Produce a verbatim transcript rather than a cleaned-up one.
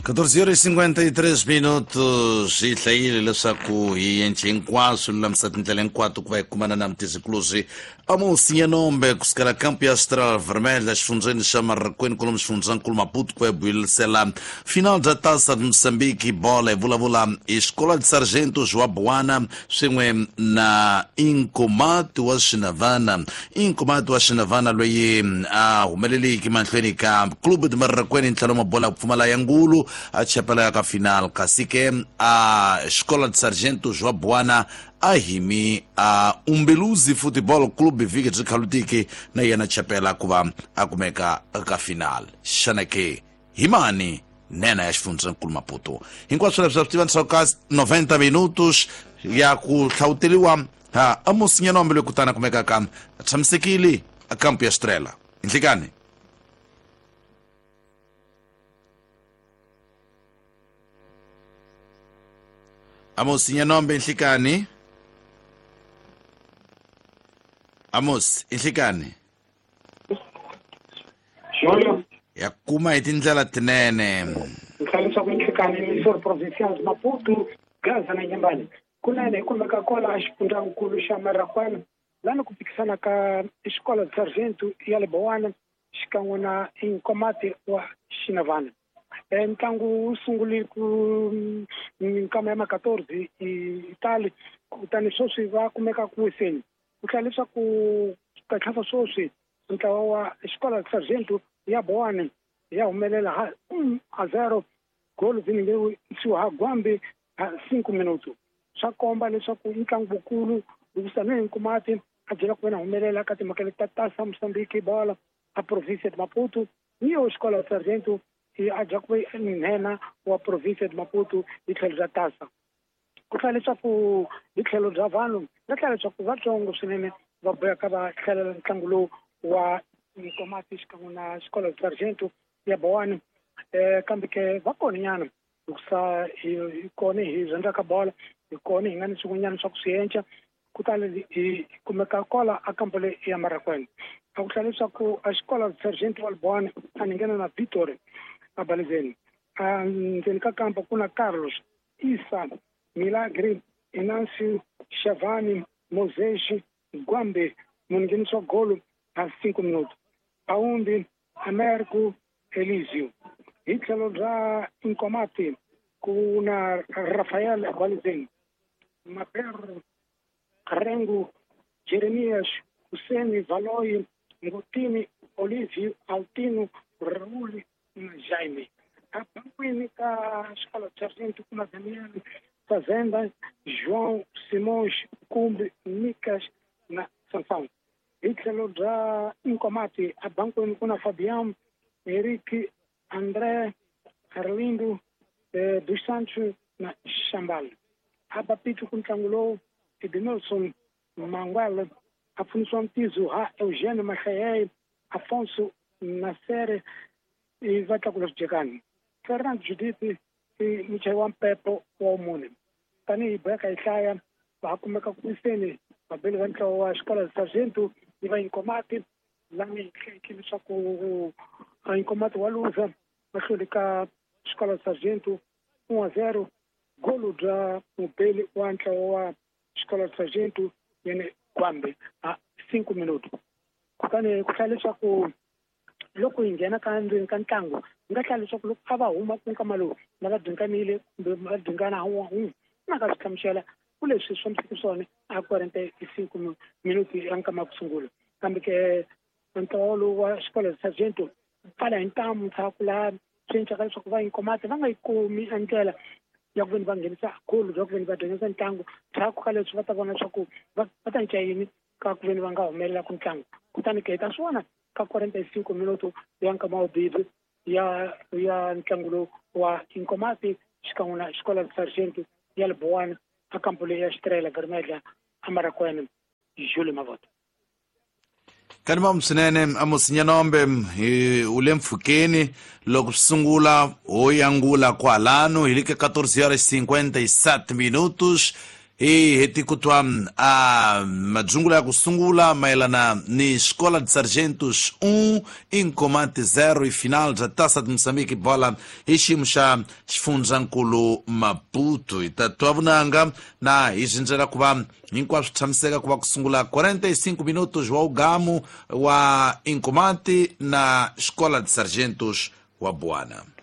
catorze horas e cinquenta e três minutos. Hi hlayile leswaku hi endle hinkwaswo lulamisa tindlela hinkwato ku va hi kumana na mutizikuluzi Amos Nyanombe kusukela kampu ya Estrela Vermelha xifundzheni xa Marracuene kolomu xifundzankulu Maputo ku va hi buyelisela final bya Taça de Moçambique bola hi vulavula hi Escola de Sargentos wa Boana swin'we na Inkomati wa Xinavana. Inkomati wa Xinavana loyi a humeleliki mahlweni ka Clube de Marracuene ntlhelo mabola ku pfumala ya ngulu a chapela ya ka final kasi ke a Escola de Sargentos wa Boana a himi a Umbeluzi Football Club vhiki byi khalutiki na yena chapela ku va a kumeka ka final. Xana ke hi mani nena ya xifundzankulu Maputo? Hinkwaswo leswi swi tiva ndzhaku ka noventa minutos ya ku hlawuteliwa ha Amos Nyanombe loyi kutani a kumeka ka tshamisekile a kampu ya Estrela. Nhlikani. Amos Nyanombe nhlikani. Amos nhlikani. Júlio. Ya kuma hi tindlela tinene. Nhlayiso ku nhlikani emissor provincial de Maputo, Gaza na Inhambane. Kunene hi kumeka kwala xifundzankulu xa Marracuene lani ku phikisana ka Escola de Sargento ya le Boana xikan'we na Inkomati wa Xinavana. Ntlangu wu sungule ku minkama ya ma quatorze Itali kutani sweswi va kumeka ku wiseni. Ku tlhela leswaku katlhasa sweswi ntlawa wa Escola de Sargento ya Boana ya humelela ha um a zero golo ziningeriwe ha Gwambi ha cinco minutos. Swa komba leswaku ntlangu wukulu hikusa na Inkomati a byela ku vena humelela ka timhaka leti ta Taça Moçambique bola a província de Maputo ni yo Escola de Sargento a dya ku ve nhenha wa província de Maputo hi tlhelo bya Taça. Ku tlhela leswaku hi tlhelo bya vanhu va tlhela leswaku vatsongo swinene va boheka va hlalela ntlangu lowu wa Inkomati xikan'we na Escola de Sargento ya Boana. Kambe ke va kona nyana hikusa hi kona hi rhandzaka bola, hi kona hi nga ni swin'wanyana swa ku swi endla kutani hi kumeka kwala a kampu leyi ya Marracuene. A ku tlhela leswaku a Escola de Sargento wa Boana a ni nghena na Victory a Balizeni. Ndzeni ka kampa ku na Carlos, Isa, Milagre, Inancio, Chavani, Moses, Gwambe, mungheniso wa golo a cinco minutos. Aumbi, Américo, Elísio. Hi tlhelo bya Inkomati ku na Rafael Balizeni, Maper, Rengo, Jeremias, Hussein, Valoy, Ngotini, Olívio, Altino, Raul na Jaime. A banquini ka Escola de Sargento ku na Daniel, Fazenda, João, Simões, Cumbi, Micas na Sansão. Hi tlhelo bya Inkomati a banquini ku na Fabião, Henrique, André, Arlindo, eh, dos Santos na Xambal. A bapito ku ntlangu lowu Edmilson Manguela, Afonso Antizo, ha Eugênio Machaei, Afonso Nasser e va tlakula swidyekani. Fernando Judith i muchayi wa mpepo wa mune. Tanihi boheka hi hlaya va ha kumeka ku wiseni vabeli va ntlawa wa Escola de Sargento ni va Inkomati lani hi hlekile leswaku Inkomati wa luza va hlule ka Escola de Sargento um a zero golo bya mubeli wa ntlawa wa Escola de Sargento yene Gwambe a cinco minutos. Kutani ku hlaya leswaku loko hi nghena ka ndzeni ka ntlangu hi nga hlaya leswaku loko a va huma ku nkama lowu na va dinganile kumbe va dingana ha un'we na ka swi hlamusela ku leswi swi fambiseke swona a quarenta e cinco minutos ya nkama ya ku sungula. Kambe ke ntlawa lowu wa Escola de Sargento pfala hi ntamu ndzhaku laha swi endlaka leswaku va Inkomati va nga yi kumi a ndlela ya ku veni va nghenisa golo bya ku veni va dyondzisa ntlangu. Ndzhaku ka leswi va ta vona leswaku va va ta cinca yini ka ku veni va nga humelela ku ntlangu. Kutani ke hi ta swi vona ka quarenta e cinco minutos ya nkama wa vumbirhi ya ya ntlangu lowu wa Inkomati xikan'we na Escola de Sargento ya le Boana a kampu leyi ya Estrela Vermelha a Marracuene. Júlio Mavoto. Kanimam swinene Amos Nyanombe hi u le mpfhukeni loko swi sungula ho yangula kwalano hi le ka catorze horas cinquenta e sete minutos. Hi heti ku twa a madzungula ya ku sungula mayelana ni Escola de Sargentos um Incomate zero e final bya Taça de Moçambique bola hi xiyimo xa xifundzankulu Maputo. Hi ta twa vunanga na hi zindzela ku va hinkwaswo tshamiseka ku va ku sungula quarenta e cinco minutos wa ugamu wa Incomate na Escola de Sargentos wa Buana.